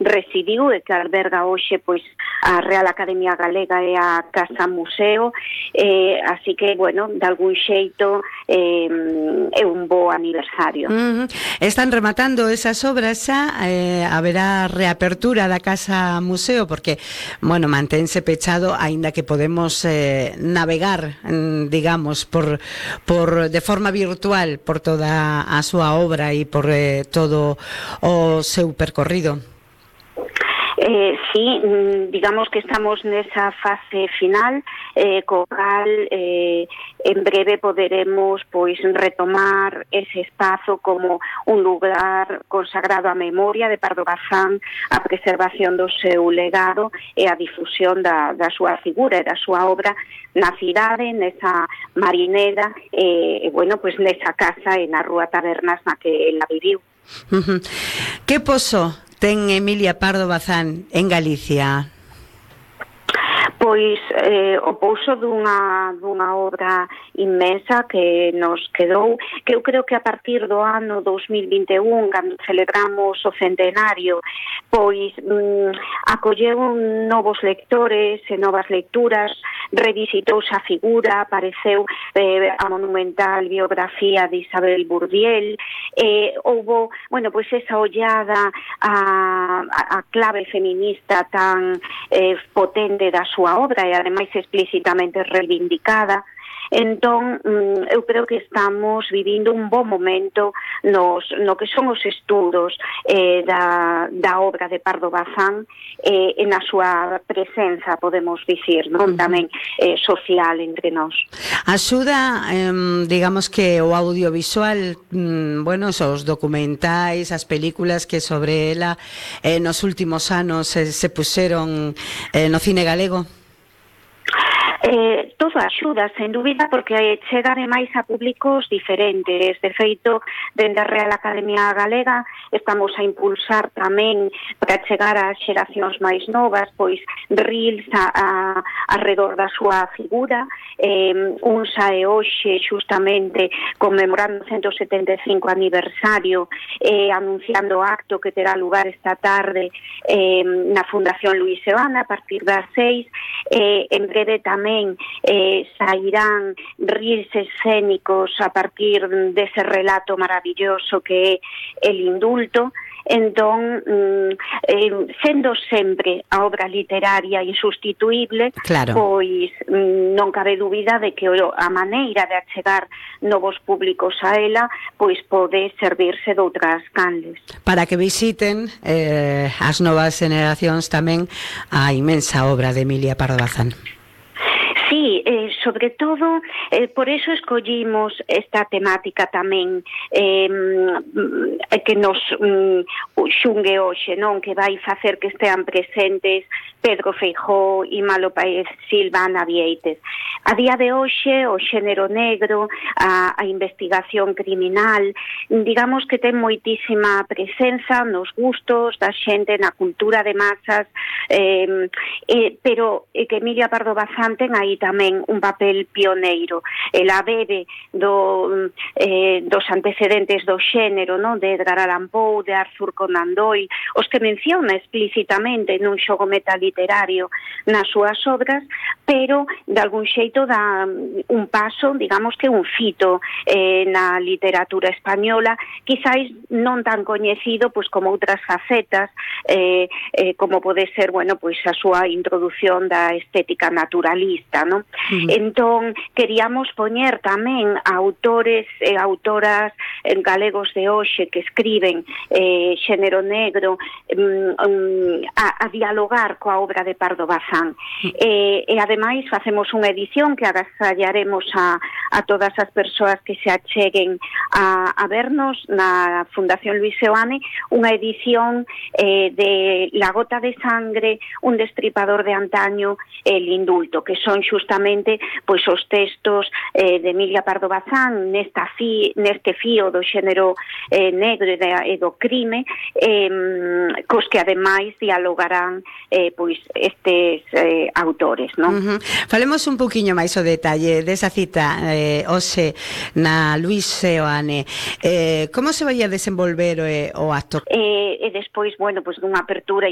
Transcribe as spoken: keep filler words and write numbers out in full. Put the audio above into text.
residiu e que alberga hoxe pois a Real Academia Galega e a Casa Museo, eh, así que, bueno, de algún xeito eh, é un bo aniversario. Uh -huh. Están rematando esas obras xa, eh, haberá reapertura da Casa Museo, porque, bueno, mantense pechado, aínda que podemos eh, navegar, digamos, por, por de forma virtual por toda a súa obra e por eh, todo o seu percorrido. Eh, sí, digamos que estamos nesa fase final, eh, co cal eh, en breve poderemos pois retomar ese espazo como un lugar consagrado á memoria de Pardo Bazán, a preservación do seu legado e a difusión da, da súa figura e da súa obra na cidade, nesa marinera, e, eh, bueno, pois nesa casa e na Rúa Tabernas na que ela viviu. Uh -huh. Que poso ten Emilia Pardo Bazán en Galicia? Pois eh, o pouso dunha, dunha obra inmensa que nos quedou, que eu creo que a partir do ano dos mil vinte e un, cando celebramos o centenario, pois mm, acolleu novos lectores e novas lecturas, revisitouse a figura, apareceu eh, a monumental biografía de Isabel Burdiel, eh, houbo, bueno, pois esa ollada a, a, a clave feminista tan eh, potente da súa obra e ademais explícitamente reivindicada. Entón, eu creo que estamos vivindo un bon momento nos, no que son os estudos eh, da, da obra de Pardo Bazán eh, en a súa presenza, podemos dicir, non? Tamén eh, social entre nós. Axuda, eh, digamos que o audiovisual, mm, bueno, os documentais, as películas que sobre ela eh, nos últimos anos eh, se puxeron eh, no cine galego? Eh, todo axuda, sen dúbida, porque chega ademais a públicos diferentes. De feito, dende a Real Academia Galega estamos a impulsar tamén para chegar ás xeracións máis novas, pois reels a, a, alrededor da súa figura. Eh, un sae hoxe xustamente conmemorando o ciento setenta e cinco aniversario, eh, anunciando o acto que terá lugar esta tarde eh, na Fundación Luis Seoane a partir das seis. Eh, en breve tamén eh, sairán reels escénicos a partir dese relato maravilloso que é El Indulto. Entón, eh, sendo sempre a obra literaria insustituíble, claro, pois non cabe dúbida de que a maneira de achegar novos públicos a ela pois pode servirse de outras canles. Para que visiten eh, as novas generacións tamén a inmensa obra de Emilia Pardo Bazán. Sí, eh, sobre todo, eh, por eso escollimos esta temática tamén eh, que nos mm, xungue hoxe, non? Que vai facer que estean presentes Pedro Feijóo e Malo Paez Silva na Vieites. A día de hoxe, o xénero negro, a, a investigación criminal, digamos que ten moitísima presenza nos gustos da xente, na cultura de masas, eh, eh, pero eh, que Emilia Pardo Bazán ten aí tamén un papel pioneiro. Ela bebe do, eh, dos antecedentes do xénero, non? De Edgar Allan Poe, de Arthur Conan Doyle, os que menciona explícitamente nun xogo metaliterario nas súas obras, pero de algún xeito dá un paso, digamos que un fito eh, na literatura española, quizáis non tan coñecido pois como outras facetas, eh, eh, como pode ser, bueno, pois a súa introdución da estética naturalista, non? Uh-huh. Entón, queríamos poñer tamén a autores e autoras galegos de hoxe que escriben eh, xénero negro um, um, a, a dialogar coa obra de Pardo Bazán. Uh-huh. E, e ademais facemos unha edición que agasallaremos a, a todas as persoas que se acheguen a, a vernos na Fundación Luis Seoane, unha edición eh, de La gota de sangre, un destripador de antaño, El Indulto, que son xustamente pois os textos eh, de Emilia Pardo Bazán nesta fi, neste fío do xénero eh, negro e, de, e do crime, eh, cos que ademais dialogarán eh, pois estes eh, autores, non? Uh-huh. Falemos un poquinho máis o detalle desa cita eh, hoxe na Luis Seoane. Eh, como se vai a desenvolver eh, o acto? Eh, e despois, bueno, pois dunha apertura